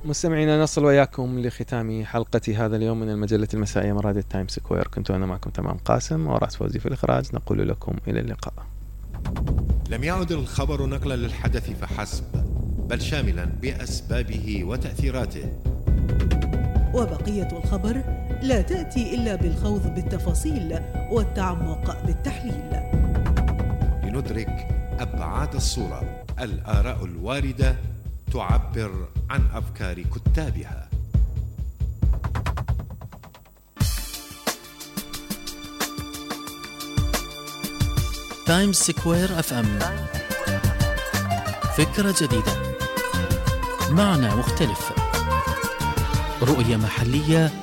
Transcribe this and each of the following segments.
مستمعينا، نصل وياكم لختام حلقة هذا اليوم من المجلة المسائية من راديو تايم سكوير. كنت أنا معكم تمام قاسم وراس فوزي في الإخراج. نقول لكم إلى اللقاء. لم يعد الخبر نقلا للحدث فحسب، بل شاملا بأسبابه وتأثيراته. وبقية الخبر لا تأتي إلا بالخوض بالتفاصيل والتعمق بالتحليل لندرك أبعاد الصورة. الآراء الواردة تعبر عن أفكار كتابها. تايمز سكوير اف ام، فكرة جديدة، معنى مختلف، رؤية محلية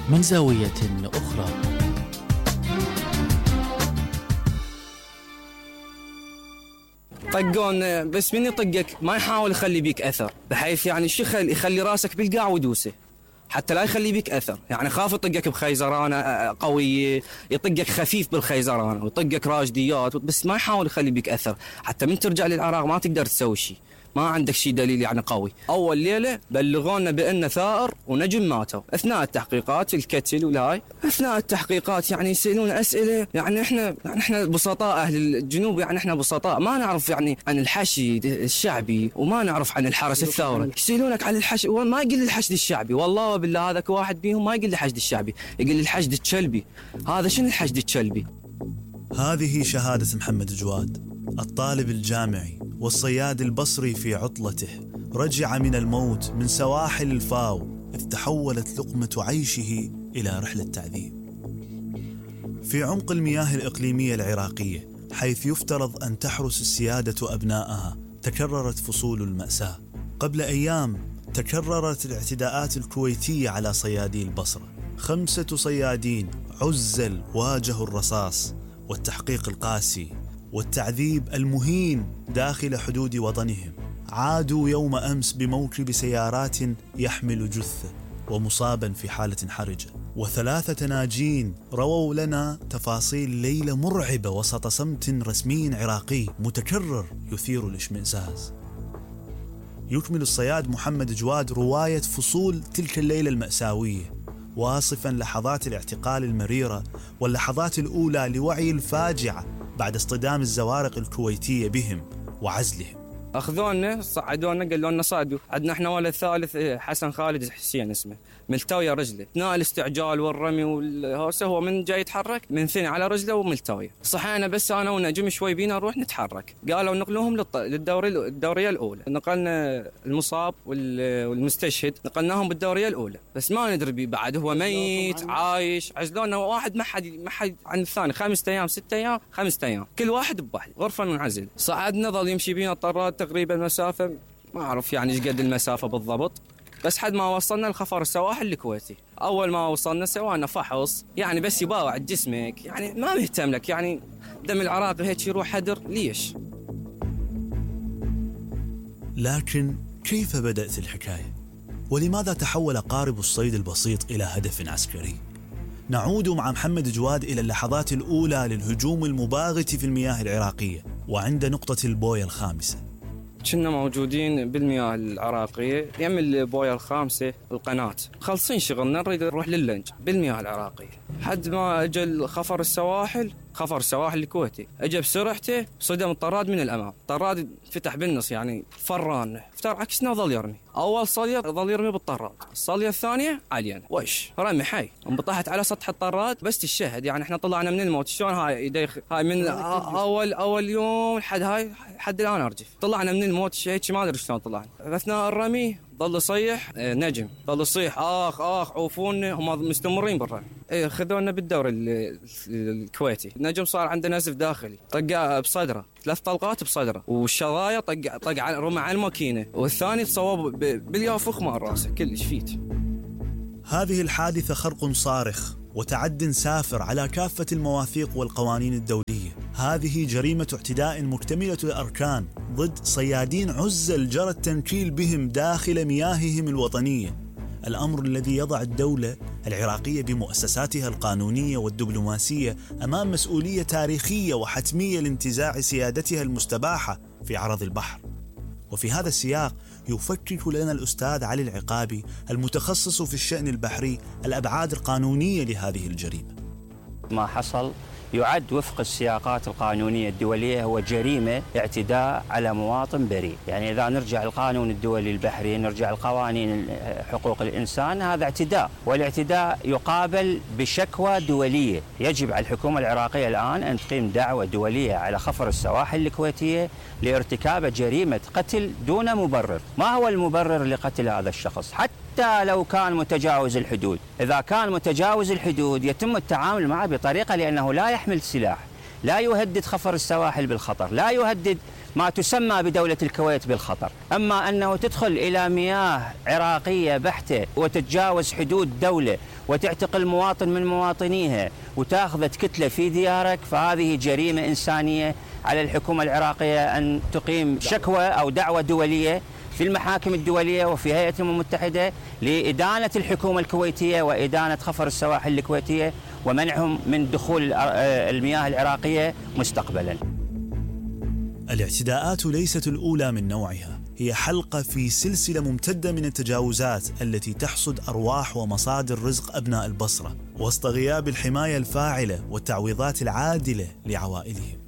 من زاوية أخرى. طقون بس من يطقك ما يحاول يخلي بيك أثر، بحيث يعني الشيخ يخلي راسك بالقاع ودوسه حتى لا يخلي بيك أثر. يعني خاف يطقك بخيزرانة قوية، يطقك خفيف بالخيزرانة ويطقك راجديات، بس ما يحاول يخلي بيك أثر حتى من ترجع للعراق ما تقدر تسوي شيء، ما عندك شيء دليل يعني قوي. أول ليلة بلغونا بأن ثائر ونجم ماتوا أثناء التحقيقات، الكتل والهاي. أثناء التحقيقات يعني يسألون أسئلة، يعني إحنا بسطاء أهل الجنوب، يعني إحنا بسطاء ما نعرف يعني عن الحشد الشعبي وما نعرف عن الحرس الثوري. يسألونك عن الحشد وما يقول الحشد الشعبي، والله وبالله هذاك واحد بيهم ما يقول الحشد الشعبي، يقول الحشد الشلبي. هذا شنو الحشد الشلبي؟ هذه شهادة محمد جواد، الطالب الجامعي والصياد البصري في عطلته. رجع من الموت من سواحل الفاو إذ تحولت لقمة عيشه إلى رحلة تعذيب. في عمق المياه الإقليمية العراقية، حيث يفترض أن تحرس السيادة أبنائها، تكررت فصول المأساة. قبل أيام تكررت الاعتداءات الكويتية على صيادي البصرة. 5 صيادين عزل واجهوا الرصاص والتحقيق القاسي والتعذيب المهين داخل حدود وطنهم. عادوا يوم أمس بموكب سيارات يحمل جثة ومصابا في حالة حرجة. و3 ناجين رووا لنا تفاصيل ليلة مرعبة وسط صمت رسمي عراقي متكرر يثير الاشمئزاز. يكمل الصياد محمد جواد رواية فصول تلك الليلة المأساوية، واصفا لحظات الاعتقال المريرة واللحظات الأولى لوعي الفاجعة بعد اصطدام الزوارق الكويتية بهم وعزلهم. أخذونا صعدونا قالوا لنا صعدوا. عندنا احنا ولد ثالث حسن خالد حسين اسمه، ملتوية رجله. اثناء الاستعجال والرمي والهوسة هو من جاي يتحرك من ثني على رجله وملتوية. صحينا بس أنا ونجم شوي بينا نروح نتحرك. قالوا نقلوهم الدورية الأولى. نقلنا المصاب والمستشهد نقلناهم بالدورية الأولى، بس ما ندري بعد هو ميت عايش. عزلونا واحد ما حد عن الثاني 5 أيام 6 أيام 5 أيام كل واحد بواحد غرفة منعزل. صعدنا ظل يمشي بينا الطراد تقريبا مسافة ما أعرف يعني إيش قد المسافة بالضبط، بس حد ما وصلنا لخفر السواحل الكويتي. أول ما وصلنا سوانا فحص يعني بس يباوع جسمك، يعني ما مهتم لك، يعني دم العراقي هيك يروح هدر ليش. لكن كيف بدأت الحكاية؟ ولماذا تحول قارب الصيد البسيط إلى هدف عسكري؟ نعود مع محمد جواد إلى اللحظات الأولى للهجوم المباغت في المياه العراقية وعند نقطة البوية الخامسة. كنا موجودين بالمياه العراقية يم البوية الخامسة القناة، خلصين شغلنا نريد نروح لللنج بالمياه العراقية. حد ما اجى خفر السواحل الكويتي، اجى بسرعته صدم الطراد من الامام. الطراد فتح بالنص يعني فران، افتر عكسنا وظل يرمي. اول صليه ظل يرمي بالطراد، الصليه الثانيه علينا وش رمي حي. انبطحت على سطح الطراد بس الشهد، يعني احنا طلعنا من الموت. شلون هاي من اول يوم حد الان ارجف. طلعنا من الموت هيك ما ادري شلون طلعنا. اثناء الرمي ظل يصيح نجم، ظل يصيح اخ عوفونا. هم مستمرين برا. خذونا بالدوري الكويتي. نجم صار عنده نزف داخلي، طق بصدره 3 طلقات بصدره، والشظايا طق رمى على الماكينه، والثاني تصوب باليافخ مال راسه كلش فيت. هذه الحادثة خرق صارخ وتعد سافر على كافة المواثيق والقوانين الدولية. هذه جريمة اعتداء مكتملة الأركان ضد صيادين عزل جرى التنكيل بهم داخل مياههم الوطنية. الأمر الذي يضع الدولة العراقية بمؤسساتها القانونية والدبلوماسية أمام مسؤولية تاريخية وحتمية لانتزاع سيادتها المستباحة في عرض البحر. وفي هذا السياق يفكك لنا الأستاذ علي العقابي المتخصص في الشأن البحري الأبعاد القانونية لهذه الجريمة. ما حصل يعد وفق السياقات القانونية الدولية هو جريمة اعتداء على مواطن بريء. يعني إذا نرجع القانون الدولي البحري، نرجع القوانين حقوق الإنسان، هذا اعتداء، والاعتداء يقابل بشكوى دولية. يجب على الحكومة العراقية الآن أن تقيم دعوة دولية على خفر السواحل الكويتية لارتكاب جريمة قتل دون مبرر. ما هو المبرر لقتل هذا الشخص؟ حتى لو كان متجاوز الحدود، إذا كان متجاوز الحدود يتم التعامل معه بطريقة لأنه لا يحمل سلاح، لا يهدد خفر السواحل بالخطر، لا يهدد ما تسمى بدولة الكويت بالخطر. أما أنه تدخل إلى مياه عراقية بحتة وتتجاوز حدود دولة وتعتقل مواطن من مواطنيها وتأخذ كتلة في ديارك، فهذه جريمة إنسانية. على الحكومة العراقية أن تقيم شكوى أو دعوة دولية في المحاكم الدولية وفي هيئة الأمم المتحدة لإدانة الحكومة الكويتية وإدانة خفر السواحل الكويتية ومنعهم من دخول المياه العراقية مستقبلا. الاعتداءات ليست الأولى من نوعها، هي حلقة في سلسلة ممتدة من التجاوزات التي تحصد أرواح ومصادر رزق أبناء البصرة وسط غياب الحماية الفاعلة والتعويضات العادلة لعوائلهم.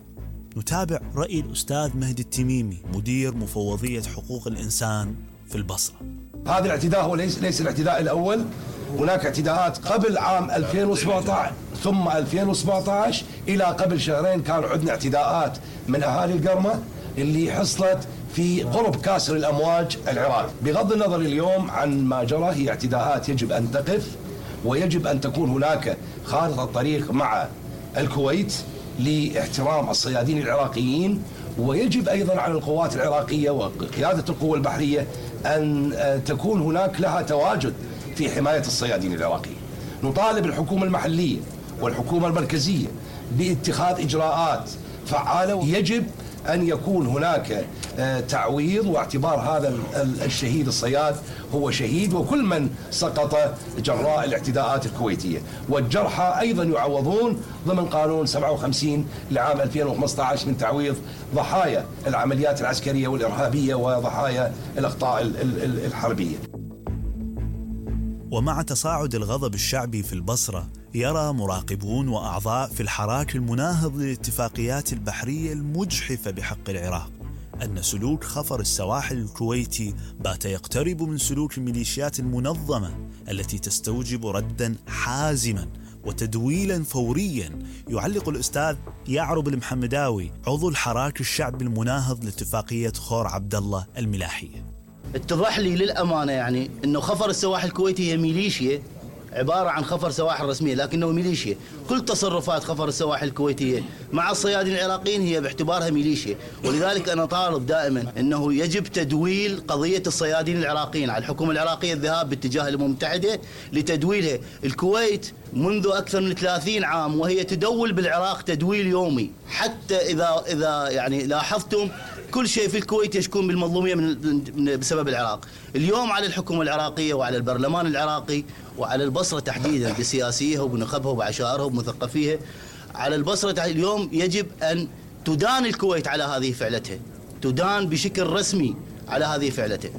نتابع رأي الأستاذ مهدي التميمي مدير مفوضية حقوق الإنسان في البصرة. هذا الاعتداء هو ليس الاعتداء الأول، هناك اعتداءات قبل عام 2017 ثم 2017 إلى قبل شهرين كان عندنا اعتداءات من أهالي القرمة اللي حصلت في قرب كاسر الأمواج العراق. بغض النظر اليوم عن ما جرى، هي اعتداءات يجب أن تقف، ويجب أن تكون هناك خارطة طريق مع الكويت لاحترام الصيادين العراقيين، ويجب أيضا على القوات العراقية وقيادة القوة البحرية أن تكون هناك لها تواجد في حماية الصيادين العراقيين. نطالب الحكومة المحلية والحكومة المركزية باتخاذ إجراءات فعالة. يجب أن يكون هناك تعويض واعتبار هذا الشهيد الصياد هو شهيد، وكل من سقط جراء الاعتداءات الكويتية، والجرحى أيضا يعوضون ضمن قانون 57 لعام 2015 من تعويض ضحايا العمليات العسكرية والإرهابية وضحايا الأخطاء الحربية. ومع تصاعد الغضب الشعبي في البصرة، يرى مراقبون وأعضاء في الحراك المناهض للاتفاقيات البحرية المجحفة بحق العراق أن سلوك خفر السواحل الكويتي بات يقترب من سلوك الميليشيات المنظمة التي تستوجب رداً حازماً وتدويلاً فورياً. يعلق الأستاذ يعرب المحمداوي عضو الحراك الشعبي المناهض لاتفاقية خور عبد الله الملاحية. اتضح لي للأمانة يعني أنه خفر السواحل الكويتي هي ميليشيا، عبارة عن خفر سواحل رسمية لكنه ميليشيا. كل تصرفات خفر السواحل الكويتية مع الصيادين العراقيين هي باعتبارها ميليشيا، ولذلك أنا طالب دائما أنه يجب تدويل قضية الصيادين العراقيين. على الحكومة العراقية الذهاب باتجاه الأمم المتحدة لتدويلها. الكويت منذ أكثر من 30 عام وهي تدول بالعراق تدويل يومي، حتى إذا يعني لاحظتم كل شيء في الكويت يشكون بالمظلومية بسبب العراق. اليوم على الحكومة العراقية وعلى البرلمان العراقي وعلى البصرة تحديدا بسياسيها وبنخبها وبعشائرها وبمثقفيها، على البصرة اليوم يجب أن تدان الكويت على هذه فعلتها، تدان بشكل رسمي على هذه فعلتها.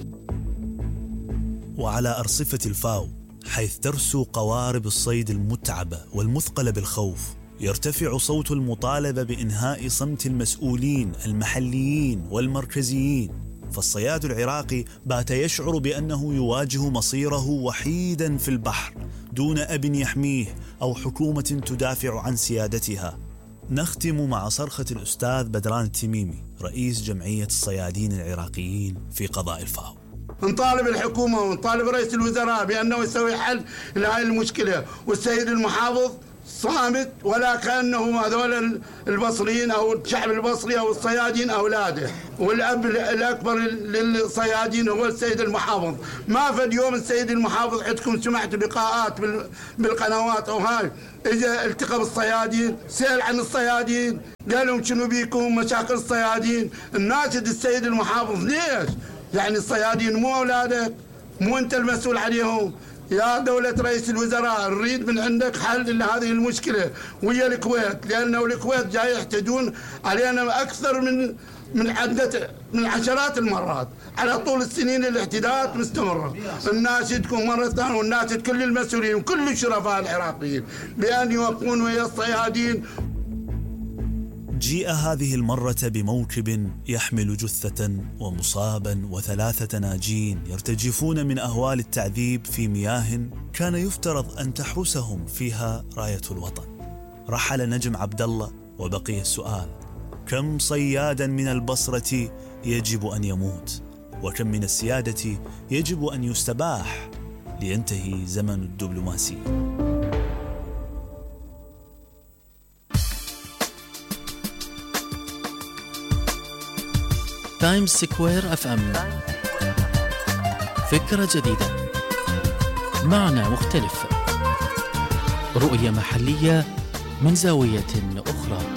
وعلى أرصفة الفاو حيث ترسو قوارب الصيد المتعبة والمثقلة بالخوف، يرتفع صوت المطالبة بإنهاء صمت المسؤولين المحليين والمركزيين. فالصياد العراقي بات يشعر بأنه يواجه مصيره وحيدا في البحر دون أب يحميه أو حكومة تدافع عن سيادتها. نختم مع صرخة الأستاذ بدران التميمي رئيس جمعية الصيادين العراقيين في قضاء الفاو. نطالب الحكومة ونطالب رئيس الوزراء بأنه يسوي حل لهذه المشكلة، والسيد المحافظ صامت ولا كأنه هذول البصريين أو الشعب البصري أو الصيادين أولاده، والأب الأكبر للصيادين هو السيد المحافظ. ما فد يوم السيد المحافظ عندكم سمعت لقاءات بالقنوات أو هاي إجا التقى بالصيادين، سأل عن الصيادين، قال لهم شنو بيكم مشاكل الصيادين. الناشد السيد المحافظ ليش؟ يعني الصيادين مو أولادك؟ مو أنت المسؤول عليهم؟ يا دولة رئيس الوزراء نريد من عندك حل لهذه المشكلة ويا الكويت، لأنه الكويت جاي يحتجون علينا أكثر من من عشرات المرات على طول السنين الاعتداءات مستمرة. الناشدكم مرة ثانية والناشد كل المسؤولين وكل الشرفاء العراقيين بأن يوقفون ويا الصيادين. جيء هذه المرة بموكب يحمل جثة ومصابا و3 ناجين يرتجفون من أهوال التعذيب في مياه كان يفترض أن تحرسهم فيها راية الوطن. رحل نجم عبد الله وبقي السؤال: كم صيادا من البصرة يجب أن يموت؟ وكم من السيادة يجب أن يستباح لينتهي زمن الدبلوماسية؟ تايمز سكوير اف ام، فكرة جديدة، معنى مختلف، رؤية محلية من زاوية أخرى.